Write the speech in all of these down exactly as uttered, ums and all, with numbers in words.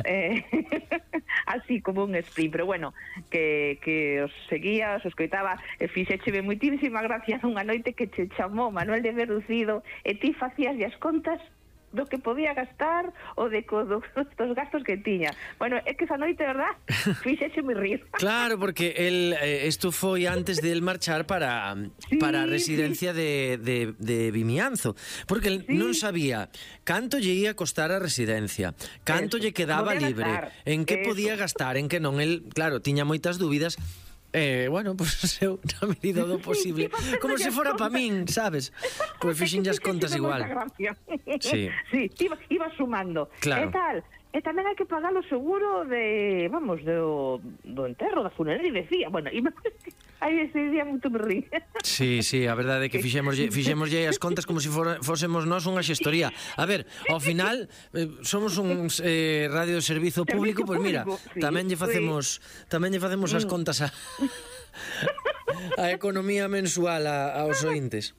eh, así como un sprint, pero bueno, que, que os seguía, os escoitaba, e fixécheme moitísima gracia unha noite que che chamou Manuel de Verducido e ti facías as contas do que podía gastar ou de co, do, dos gastos que tiña. Bueno, é que esa noite, verdad, fixeche moi rir. Claro, porque el, eh, esto foi antes de el marchar para, sí, para a residencia sí. de, de, de Vimianzo, porque el sí. non sabía canto lle ia costar a residencia, canto Eso. lle quedaba podía libre, gastar. en que Eso. podía gastar, en que non. El, claro, tiña moitas dúbidas. Eh, bueno, pois pues, eu na medida do posible, sí, como se fora pa min, sabes? Pois pues, fixen as contas igual. Sí, sí, iba, iba sumando. Claro. E tal, e tamén hai que pagar o seguro de, vamos, do, do enterro, da funeraria, e decía, bueno, iba, aí ese día moito me rí. Sí, sí, a verdade é que fixemos fixemoslle as contas como se for, fósemos nós unha xestoría. A ver, ao final eh, somos un eh, radio de servizo público, pois pues mira, sí, tamén lle facemos sí. tamén lle facemos as contas a a economía mensual a, aos ointes.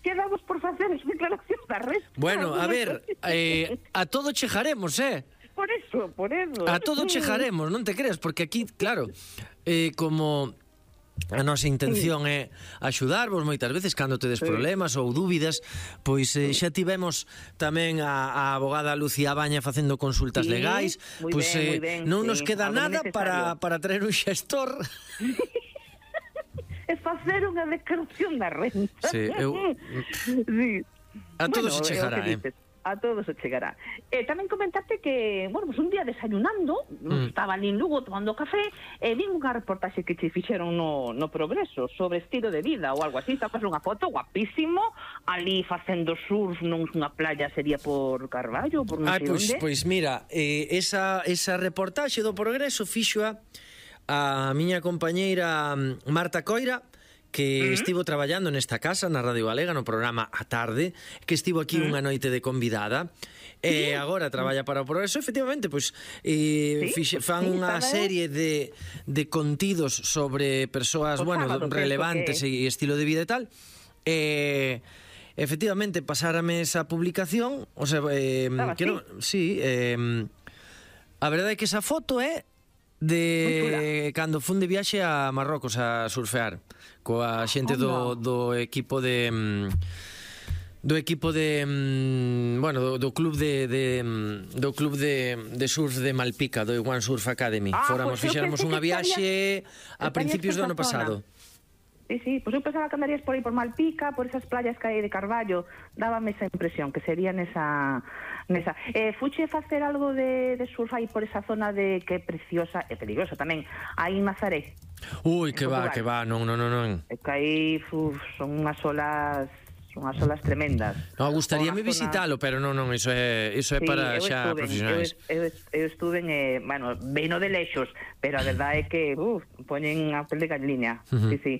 Quedamos por facer as declaracións da resta. Bueno, a ver, eh, a todo chejaremos, eh? Por eso, por eso. A todo chejaremos, non te creas, porque aquí, claro, eh, como a nosa intención é axudarvos moitas veces cando tedes sí. problemas ou dúbidas, pois eh, xa tivemos tamén a, a abogada Lucía Baña facendo consultas sí, legais, pois eh, ben, non sí. nos queda Algo nada para, para traer un xestor. É facer unha declaración da renta. Sí, eu... sí. A todo bueno, se chegará, eh? A todo se chegará. E tamén comentarte que, bueno, pues un día desayunando, mm. estaba ali en Lugo tomando café, e vi unha reportaxe que che fixeron no, no Progreso sobre estilo de vida ou algo así, estaba unha foto guapísimo, ali facendo surf nunha playa, sería por Carballo, por non sei pois, onde. Pois mira, eh, esa, esa reportaxe do Progreso fixoa a miña compañeira Marta Coira, que uh-huh. estivo traballando nesta casa, na Radio Galega, no programa A Tarde, que estivo aquí uh-huh. unha noite de convidada, e uh-huh. agora traballa para o Progreso. Efectivamente, pois eh, ¿Sí? fixe, fan sí, unha serie de, de contidos sobre persoas, pues bueno, sábado, relevantes que... e estilo de vida e tal. E... efectivamente, pasárame esa publicación, o sea, eh, que no, sí, eh, a verdade é que esa foto é de cando fun de viaxe a Marrocos a surfear coa xente do, do equipo de do equipo de bueno, do, do club de, de do club de, de surf de Malpica, do One Surf Academy. Ah, Fóramos, pues fixéramos unha viaxe a principios do ano pasado. Sí, sí, pois pues eu pensaba que andarías por aí por Malpica, por esas playas que hai de Carballo, dábame esa impresión que sería nesa nesa. Eh, fuche facer algo de, de surf aí por esa zona de que é preciosa e peligrosa tamén, aí en Nazaré. Ui, que va, que va, non, non, non. É que aí uf, son unhas olas unhas olas tremendas. No, gustaríame visitalo, pero non, non, iso é iso é sí, para xa estuve, profesionais. Eu, eu, eu estuve en, eh, bueno, veno de lexos, pero a verdade é que, uf, poñen a pel de gallina. Uh-huh. Sí, sí.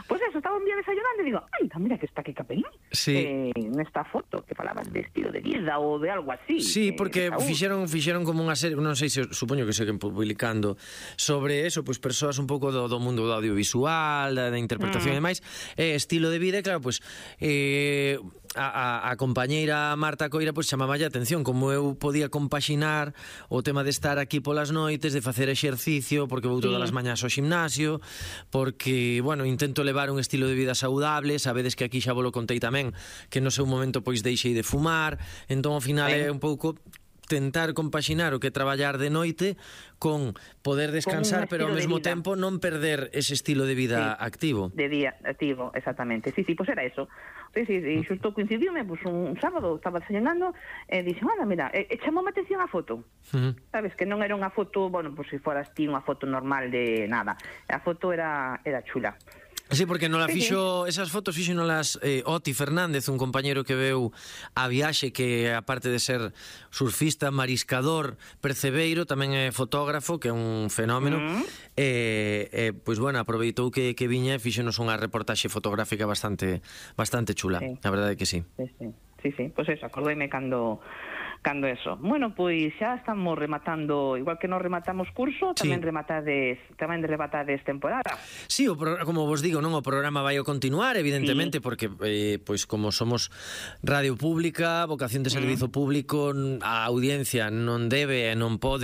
Pois pues eso, estaba un día desayunando e digo, ai, mira que está aquí Capelín, sí. eh, nesta foto que falabas de estilo de vida ou de algo así. Sí, eh, porque fixeron fixeron como unha serie, non sei se supoño que seguen publicando sobre eso, pois pues, persoas un pouco do, do mundo do audiovisual, da, da interpretación mm. e máis, eh, estilo de vida, e claro, pois pues, eh, a, a, a compañeira Marta Coira pois pues, chamaba a atención como eu podía compaxinar o tema de estar aquí polas noites, de facer exercicio, porque vou todas as mañás ao gimnasio, porque, bueno, intento levar un estilo de vida saudable. Sabedes que aquí xa vos lo contei tamén, que no seu momento pois deixei de fumar, entón ao final é un pouco tentar compaxinar o que traballar de noite con poder descansar, pero ao mesmo tempo non perder ese estilo de vida sí, activo. De día activo, exactamente. Sí, sí, pois pues era eso. Sí, sí, sí, xusto coincidiume, pues, un sábado estaba desayunando e dixen, anda, mira, e, e chamou a atención a foto. Uh-huh. Sabes, que non era unha foto, bueno, pues se foras ti unha foto normal de nada. A foto era era chula. Sí, porque non la fixo, esas fotos fixo non las eh, Oti Fernández, un compañero que veu a viaxe, que aparte de ser surfista, mariscador, percebeiro, tamén é fotógrafo, que é un fenómeno. Uh-huh. E, eh, pois bueno, aproveitou que, que viña e fixonos unha reportaxe fotográfica bastante bastante chula, sí. A verdade é que sí. Sí, sí, sí, sí. Pois eso, acordeime cando cando eso. Bueno, pois xa estamos rematando, igual que nos rematamos curso, tamén sí. rematades, tamén rematades temporada. Sí, o pro, como vos digo, non, o programa vai a continuar, evidentemente, sí. porque eh, pois como somos radio pública, vocación de servizo mm. público, a audiencia non debe e non pode